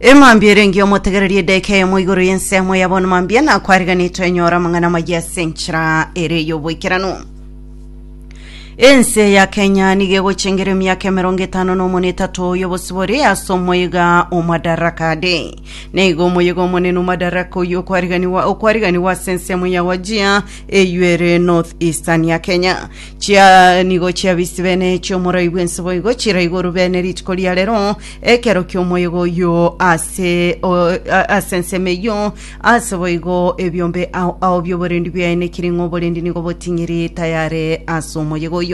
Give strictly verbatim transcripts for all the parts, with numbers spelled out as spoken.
Emambia erenge omotegereria edeka eyemo igoro y'ensemo ya bono mambia na kwariganetwe enyora amang'ana amaya ase enchera ere y'oboikeranu. Ense ya Kenya nigo egochengera emiaka emerongo etano na omone etato y'obosibore ase omoyega o Madaraka Day. Nigo omoyega omonene o Madaraka oyio okwariganiwa okwariganiwa ase ensemo ya Wajir eywo ere North Eastern ya Kenya. Chia nigo chiabisi bene chiomorai bwense boigo chiraigoro bene rituko ria rero ekero kiomoyega oyo ase o- a- ase ensemo eyio ase boigo ebiombe ao ao bioborendi biaenekire ng'a oborendi nigo boting'iri tayare ase omoyega oyo.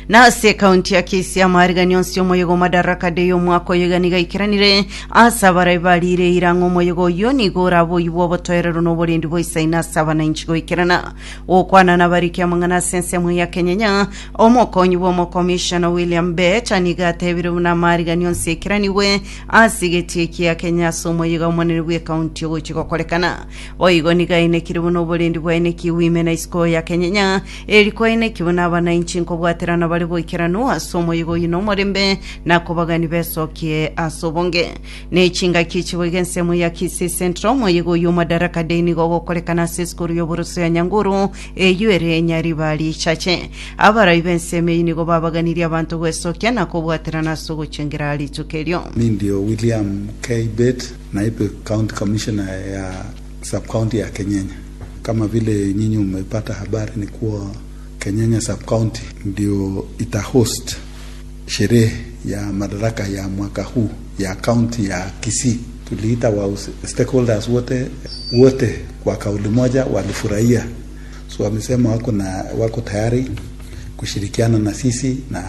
Na ase ekaunti ya Kisii amaarigani onsi omoyega o Madaraka Day omwaka oyo iga nigo aikeranire ase abarai barire eira ng'a omoyega oyio nigo orabe oyio bw'obotoereru na oborendi boisaine ase abananchi goikerana. Gokwana nabariki amang'ana ase ensemo ya Kenyenya, omokonyi bw'omokomishona William Bett nigo atebire buna amaarigani onsi aikeranigwe ase egetie kia Kenya ase omoyega omonene bw'ekaunti ogochia gokorekana. Boigo nigo ainekire buna oborendi bwaenekiwe ime na isiko ya Kenyenya eri kwaeneki buna abananchi nkobwaterana bare boikeranu ase omoyega oyio na omorembe na kobagani besokie ase obonge. Ne chingaki echi boigo ensemo ya Kisii Central omoyega oyio Madaraka Day nigo ogokorekana ase esukuru y'oboroso ya Nyanguru eyio ere Nyaribari Chache. Abarai b'ensemo eyio nigo babaganirie abanto gwesokia na kobwaterana ase ogochengera rituko erio. Mi ndio William K. Bett, naibu county commissioner ya sub county ya Kenyenya. Kama vile nyinyi umepata habari ni kuwa Kenyenya sub county ndio itahost sherehe ya madaraka ya mwaka huu ya county ya Kisii. Tuliita wa stakeholders wote wote kwa kauli moja walifurahia, so wamesema wako na wako tayari kushirikiana na sisi na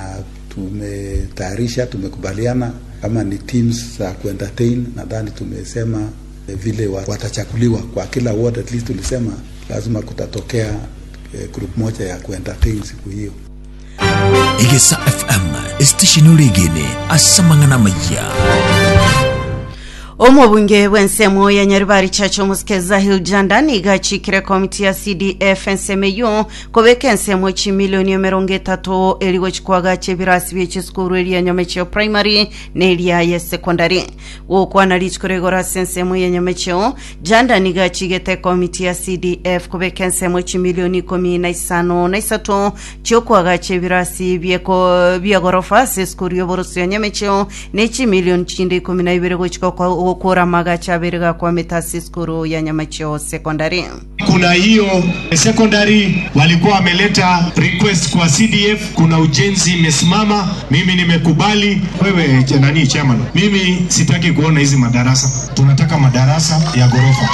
tumetayarisha, tumekubaliana kama ni teams za kuentertain. Nadhani tumesema vile watachaguliwa kwa kila ward, at least tulisema lazima kutatokea eh, group moja ya kuentertain siku hiyo. Egesa F M esitesheni oregene ase amang'ana amaya. Omobunge bw'ensemo ya Nyaribari Chache omosike Zahil Janda nigo achikire komiti ya C D F ensemo eyo kobeka ensemo chimilioni emerongo etato eri gochikwagacha ebirasi bie chisukuru eria Nyamecheo Primary na eria ya Secondary. Gokwana rituko rigoro ase ensemo ya Nyamecheo, Janda nigo achigete komiti ya C D F kobeka ensemo chimilioni ikomi na isano na isato chiokwagacha ebirasi bieko bia gorofa ase esukuru y'oboroso ya Nyamecheo na chimilioni chinde ikomi na ibere gochika gokora amagacha abere gakwamete ase esukuru ya Nyamecheo Secondary. Kuna hiyo secondary walikuwa wameleta request kwa C D F, kuna ujenzi imesimama. Mimi nimekubali. Wewe ch- nani chairman, mimi sitaki kuona hizi madarasa, tunataka madarasa ya ghorofa.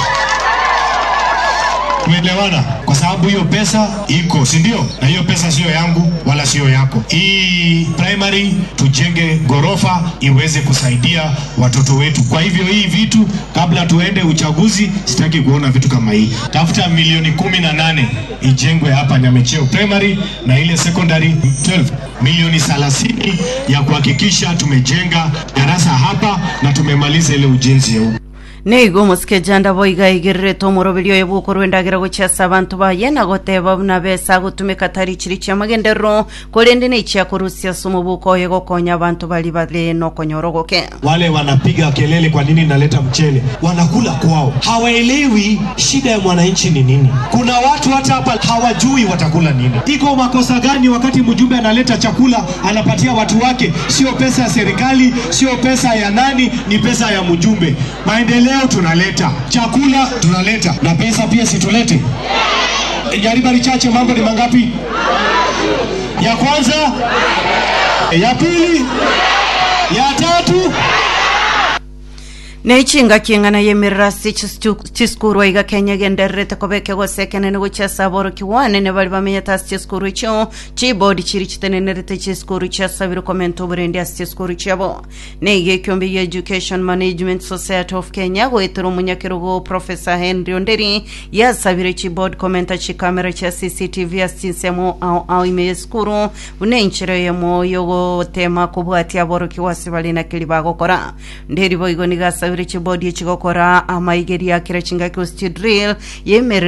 Tumeelewana? Kwa sababu hiyo pesa iko, si ndio? Na hiyo pesa sio yangu wala sio yako. Hii primary tujenge ghorofa iweze kusaidia watoto wetu. Kwa hivyo hii vitu, kabla tuende uchaguzi, sitaki kuona vitu kama hii. Tafuta milioni kumi na nane ijengwe hapa Nyamecheo Primary na ile secondary kumi na mbili milioni thelathini ya kuhakikisha tumejenga darasa hapa na tumemaliza ile ujenzi ya huko. Nigo omosike Janda boiga igererete omoroberi oyo bwokorwa endagera gochia ase abanto baye na goteba buna besa agotumeka tari chiri chia magenderero korende nechia korusia ase omobuko oye gokonya abanto bari bare nokonyora ogoke. Wale wanapiga kelele, kwa nini naleta mchele? Wanakula kwao, hawaelewi shida ya mwananchi ni nini. Kuna watu hata hapa hawajui watakula nini. Iko makosa gani wakati mjumbe analeta chakula anapatia watu wake? Sio pesa ya serikali, sio pesa ya nani, ni pesa ya mjumbe. Maendeleo tunaleta, chakula tunaleta, na pesa pia situlete. Nyaribari Chache, mambo ni mangapi? Ya kwanza, ya pili, ya tatu. Nechinga king'ana yemerera ase chisukuru iga Kenya gendererete kobeke gosekenene gochia ase aborokiwa nene bari bamenyete ase chisukuru echio. Chibodi chiri chitenenerete chisukuru chiasabire komenta oborendi ase chisukuru chiabo. Neiga ekiombe ya Education Management Society of Kenya goetera omonyakerogo Professor Henry Onderi yasabire chibodi komenta chikamera chia C C T V ase chinsemo ao ao ime yesukuru buna enchera eyemo yogotema kobwatia aborokiwa ase bari nakeri bagokora. Nderi boigo niga asabire chibodi echigokora amaigeria akira chingaki gose chidrill yemerera.